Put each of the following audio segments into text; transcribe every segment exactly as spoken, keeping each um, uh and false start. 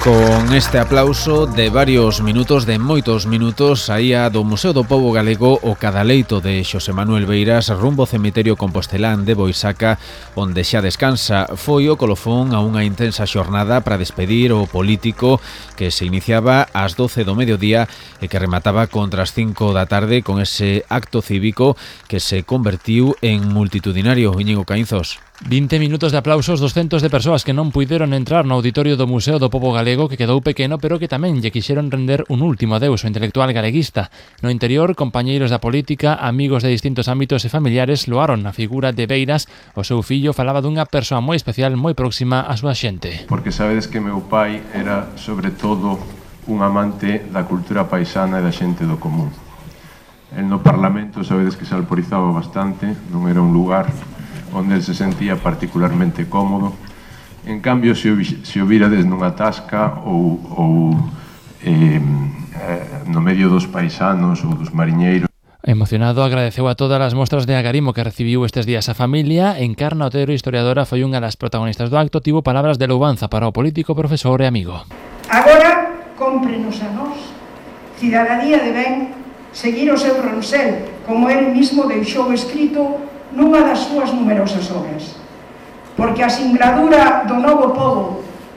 Con este aplauso de varios minutos, de moitos minutos, saía do Museo do Pobo Galego o cadaleito de Xosé Manuel Beiras rumbo ao cemiterio compostelán de Boisaca, onde xa descansa. Foi o colofón a unha intensa xornada para despedir o político que se iniciaba ás doce do mediodía e que remataba contra as cinco da tarde con ese acto cívico que se convertiu en multitudinario. Íñigo Caínzos. vinte minutos de aplausos, doscientas de persoas que non puideron entrar no auditorio do Museo do Pobo Galego, que quedou pequeno, pero que tamén lle quixeron render un último adeus ao intelectual galeguista. No interior, compañeiros da política, amigos de distintos ámbitos e familiares loaron a figura de Beiras. O seu fillo falaba dunha persoa moi especial, moi próxima á súa xente. Porque sabedes que meu pai era, sobre todo, un amante da cultura paisana e da xente do común. El no Parlamento, sabedes que se alporizaba bastante, non era un lugar onde el se sentía particularmente cómodo. En cambio, se o, se o virades nunha tasca ou, ou eh, no medio dos paisanos ou dos mariñeiros. Emocionado, agradeceu a todas as mostras de agarimo que recibiu estes días a familia. Encarna Otero, historiadora, foi unha das protagonistas do acto, tivo palabras de louvanza para o político, profesor e amigo. Agora, cómprenos a nós, cidadanía de ben, seguir o seu ronsel, como el mismo deixou escrito nunha das súas numerosas obras. Porque a singladura do novo pobo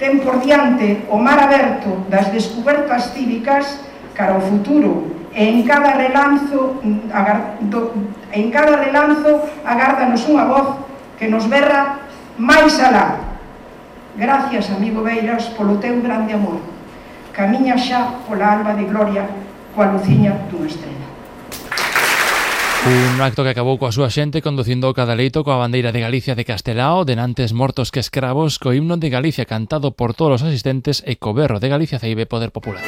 ten por diante o mar aberto das descubertas cívicas cara ao futuro, e en cada relanzo en cada relanzo agárdanos unha voz que nos berra máis alá. Gracias, amigo Beiras, polo teu grande amor. Camiña xa pola alba de gloria coa luciña dunha estrela. Un acto que acabou coa súa xente conducindo o cadaleito coa bandeira de Galicia de Castelao, denantes mortos que escravos, co himno de Galicia cantado por todos os asistentes e co berro de Galicia Ceibe Poder Popular.